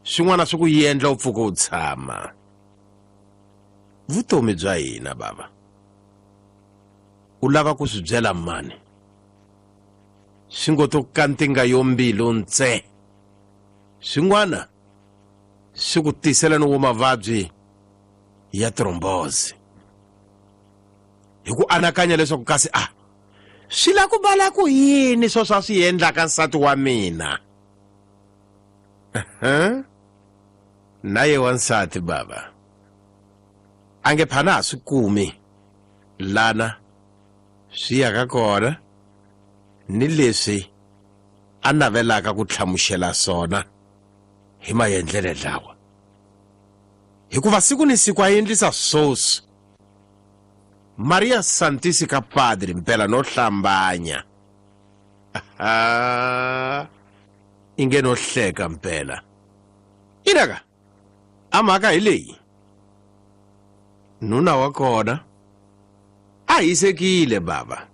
Swin'wana swi ku endla u pfuka u tshama. Vutomi bya hina bava. U lava ku swi byela mani? Swi ngo to kantinga yo mbilu ntse. Swin'wana swi ku tisela ni wo mavabyi ya thrombozi. Hi ku anakanya leswaku kasi a swi la ku bala ku yini sweswo a swi endlaka nsati wa mina. Na ye wansati bava a nge phana ha swi kumi lana swi yaka kona ni leswi a navelaka ku hlamusela swona hi maendlelo lawa, hikuva siku ni siku a endlisa swoswi. Maria Santisi ka Padre mpela no hlambanya. Inge no hleka mpela. Inaka a mhaka hi leyi. Nuna wa kona a hisekile baba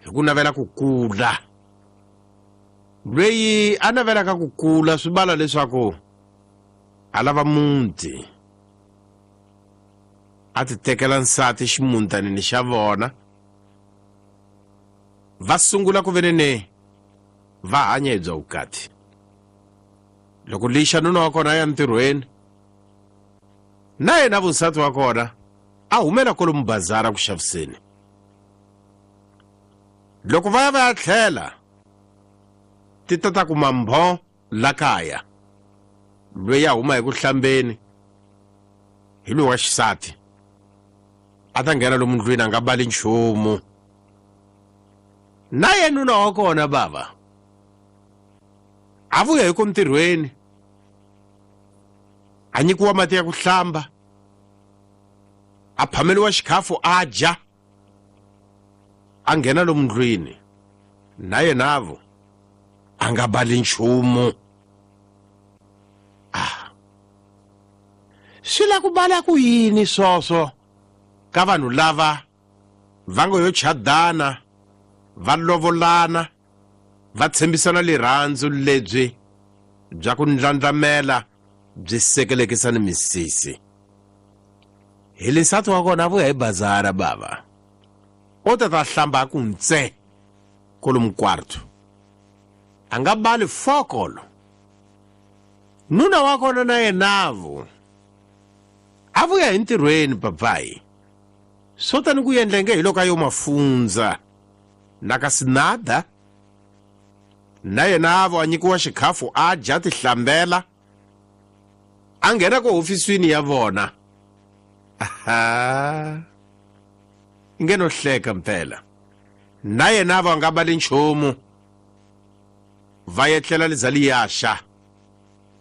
hi ku navela ku kula. Lweyi a navelaka ku kula swi bala leswaku a lava muti, a ti tekela nsati ximuntanini xa vona, va sungula ku venene va hanya hi bya vukati. Loko lixa nuna wa kona a ya ntirhweni, na yena vunsati wa kona a humela kwalomu bazara ku xaviseni. Loko va ya va ya tlhela ti ta ta kuma mbho la kaya, loyi a huma hi ku hlambeni hi loyi wa xisati a ta nghena lomu ndlwini a nga bali nchumu. Na yena nuna wa kona bava a vuya hi ku ntirhweni, a nyikiwa mati ya ku hlamba, a phameliwa xikhafu a dya, a nghena lomu ndlwini na yenavo a nga bali nchumu. Swi la ku bala ku yini swoswo ka vanhu lava va ngo yo chadana, va lovolana, va tshembisana lirhandzu lebyi bya ku ndlandlamela byi sekelekisa ni misisi. Hi le nsati wa kona a vuya hi bazara bava, o ta ta hlamba a ku ntse kolomu kwarto, a nga bali fokolo. Nuna wa kona na yenavo a vuya hi ntirhweni papayi, swo tani ku endla nge hi loko a yo mafundza na ka sinada. Na yena avo a nyikiwa xikhafu a dya tihlambela, a nghena ku hofisini ya vona. Nge no hleka mpela. Na yena avo a nga bali nchumu, va etlela liza liyaxa.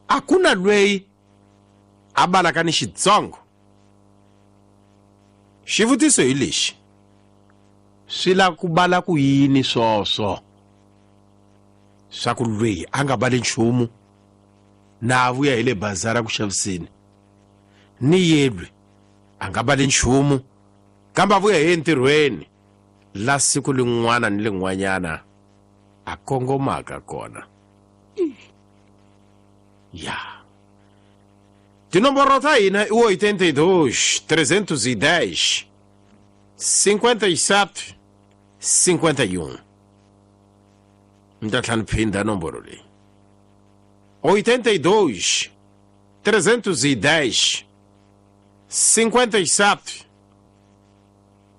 A ku na lweyi a balaka ni xitsongo. Xivutiso hi lexi, swi la ku bala ku yini swoswo swa ku lweyi a nga bali nchumu na a vuya hi le bazara ku xaviseni, ni yelwe a nga bali nchumu kambe a vuya hi entirhweni la siku lin'wana ni lin'wanyana a kongomaka kona. Ya tinomboro ta hina i 82 310 57 51. Ni ta tlhela ni phinda nomboro leyi, 82 310 57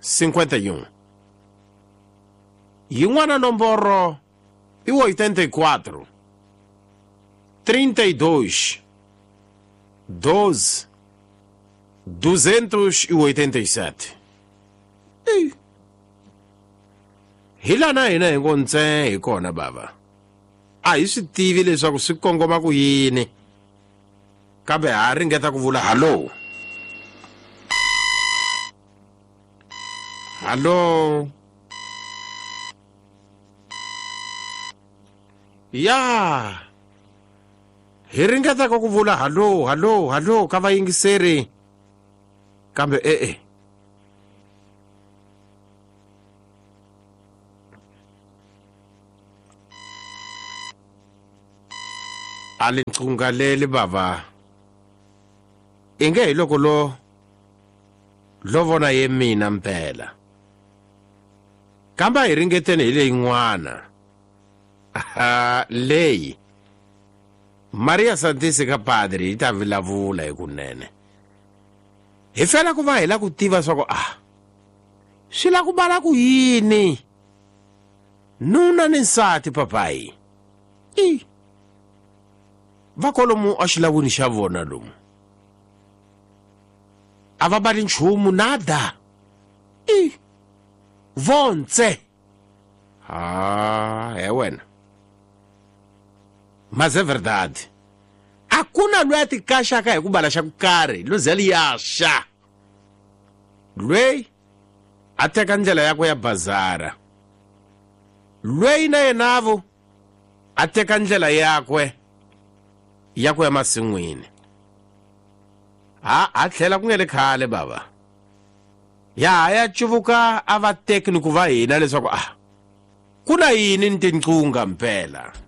51. Yin'wana nomboro i 84 32 12 287. Hi lana hina hi ngo ntse hi kona bava, a hi swi tivi leswaku swi kongoma ku yini, kambe ha ringeta ku vula hallo hallo. Ya hi ringetaka ku vula hallo hallo hallo ka vayingiseri, kambe e-e. A le Nqunga leli bava inge hi loko lo lo vona ye mina mpela. Kambe a hi ringeteni hi leyin'wana. Aha, leyi Maria Santisi ka padri yi ta vulavula hi kunene. Hi fela ku va hi la ku tiva swa ku a swi la ku bala ku yini nuna ni nsati papayi i va kolomu exilawini xa vona lomu a va bali nchumu nada i vontse ha he wena mas é verdade a ku na loyi a tikaxaka hi ku bala xa ku karhi lo ze liyaxa lweyi a teka ndlela yakwe ya bazara lweyi na yenavo a teka ndlela yakwe ya ku ya masin'wini ha a tlhela ku nge le khale bava ya ha ya cuvuka a va teki ni ku va hina leswaku a ku na yini ni tinqunga mpela.